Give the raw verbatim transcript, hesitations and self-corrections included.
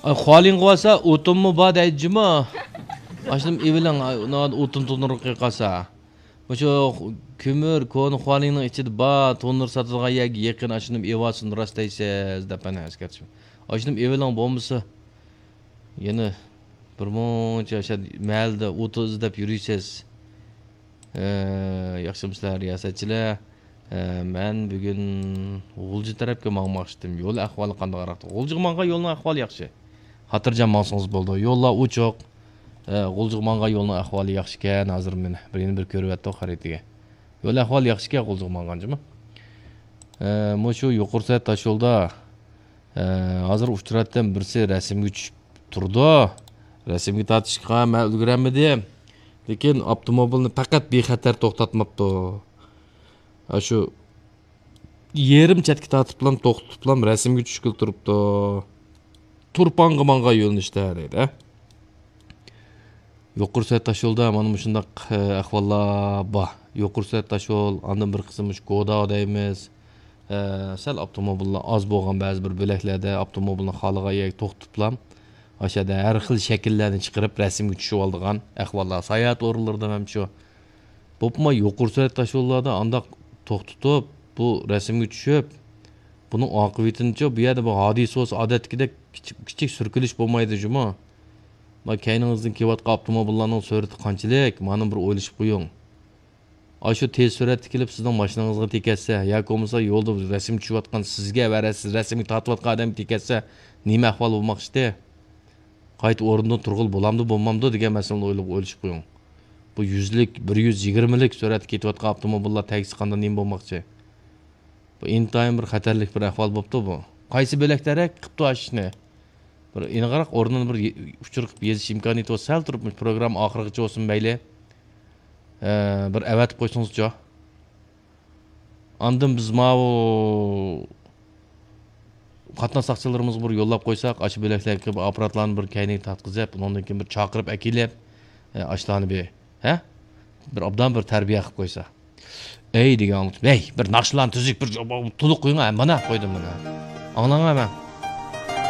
ئاي، خۇالىڭغا بارسا ئوتۇنمۇ بار دەيدۇ جۇمۇ. ئاشۇنىمۇ ئېۋىلىڭ، ئاي، ئۇنىڭ ئوتۇن تونۇرغا قىلىپ قالسا. مۇشۇ خۇ-، كۆمۈر، كونا خۇالىڭنىڭ ئىچىدە بار، تونۇر ساتىدىغان يەرگە يېقىن، ئاشۇنىمۇ ئېۋالسۇن، راست دەيسىز، دەپ مانا ئەسكەرتىش. ئاشۇنىمۇ ئېۋىلىڭ، بولمىسا يەنە بىر مۇنچە ئاشۇ مەھەللىدە ئوتۇن ئىزدەپ يۈرىسىز. ئە، ياخشىمۇسىلەر رىياسەتچىلەر؟ ئە، مەن بۈگۈن غۇلجا تەرەپكە ماڭماقچىدىم. يول ئەھۋالى قانداقراق؟ غۇلجىغا ماڭغان يولنىڭ ئەھۋالى ياخشى. خاتىرجەم ماڭسىڭىز بولىدۇ. يوللار ئوچۇق. ئە، غۇلجىغا ماڭغان يولنىڭ ئەھۋالى ياخشىكەن. ھازىر مېنى بىر، يەنە بىر كۆرۈۋەتتۇق خەرىتىگە. يول ئەھۋالى ياخشىكەن غۇلجىغا ماڭغان جۇمۇ. ئە، مۇشۇ يۇقىرى سەت تاشيولدا، ئە، ھازىر ئۇچراتتىم، بىرسى رەسىمگە چۈشۈپ تۇرىدۇ. رەسىمگە تارتىشقا مەن ئۈلگۈرەلمىدىم. لېكىن ئاپتوموبىلنى پەقەت بىخەتەر توختاتماپتۇ. ئاشۇ يېرىم چەتكە تارتىپلام، توختىتىپلام رەسىمگە چۈشكىلى تۇرۇپتۇ. تۇرپانغا ماڭغان يۆنىلىشتە دەيدۇ. يۇقىرى سۈرئەت تاشيولدا مانا مۇشۇنداق، ئە، ئەھۋاللار بار. يۇقىرى سۈرئەت تاشيول، ئاندىن بىر قىسىم مۇشۇ گودا دەيمىز. ئە، سەل ئاپتوموبىللار ئاز بولغان بەزى بىر بۆلەكلەردە ئاپتوموبىلنى خالىغان يەرگە توختىتىپلام، ئاشۇ يەردە ھەر خىل شەكىللەرنى چىقىرىپ رەسىمگە چۈشۈۋالىدىغان ئەھۋاللار. ساياھەت ئورۇنلىرىدا ھەم شۇ. بولۇپمۇ يۇقىرى سۈرئەت تاشيوللاردا ئانداق توختىتىپ، بۇ رەسىمگە چۈشۈپ، بۇنىڭ ئاقىۋىتىنىچۇ، بۇ يەردە بىر ھادىسە بولسا، ئادەتتىكىدەك كىچىك، كىچىك سۈركىلىش بولمايدۇ جۇمۇ. ما كەينىڭىزدىن كېلىۋاتقان ئاپتوموبىللارنىڭ سۈرئىتى قانچىلىك؟ مانا بىر ئويلىشىپ قويۇڭ. ئاشۇ تېز سۈرئەتتە كېلىپ سىزنىڭ ماشىنىڭىزغا تېكەتسە ياكى بولمىسا يولدا رەسىم چۈشۈۋاتقان سىزگە ۋە رەس-، رەسىمگە تارتىۋاتقان ئادەمگە تېكەتسە نېمە ئەھۋال بولماقچىدى؟ قايتا ئورنىدىن تۇرغىلى بولامدۇ، بولمامدۇ دېگەن مەسىلىنى ئويلىغا-، ئويلىشىپ قويۇڭ. بۇ يۈزلۈك، بىر يۈز يىگىرمىلىك سۈرئەتتە كېتىۋاتقان ئاپتوموبىللار تەگسە قانداق نېمە بولماقچى؟ بۇ ئىنتايىن بىر خەتەرلىك بىر ئەھۋال بوپتۇ بۇ. قايسى بۆلەكلەر قىپتۇ ئاشۇ ئىشنى؟ بىر ئېنىقراق ئورنىنى بىر يې-، ئۇچۇر قىلىپ يېزىش ئىمكانىيىتى بولسا، سەل تۇرۇپ مۇشۇ پروگرامما ئاخىرىغىچە بولسۇن مەيلى. ئە، بىر ئەۋەتىپ قويسىڭىزچۇ؟ ئاندىن بىز ماۋۇ قاتناش ساقچىلىرىمىزغا بىر يوللاپ قويساق، ئاشۇ بۆلەكلەرگە بىر ئاپپاراتلارنى بىر كەينىگە تارتقۇزۇپ، ئۇنىڭدىن كېيىن بىر چاقىرىپ ئەكېلىپ، ئە، ئاشۇلارنى بىر، ھە؟ بىر ئوبدان بىر تەربىيە قىلىپ قويسا. ئەي دېگەن ئاڭلىتىپ، ھەي، بىر ناخشىلارنى تۈزۈك بىر تولۇق قويۇڭ، ھە، مانا قويدۇم مانا. ئاڭلاڭ ھەممە.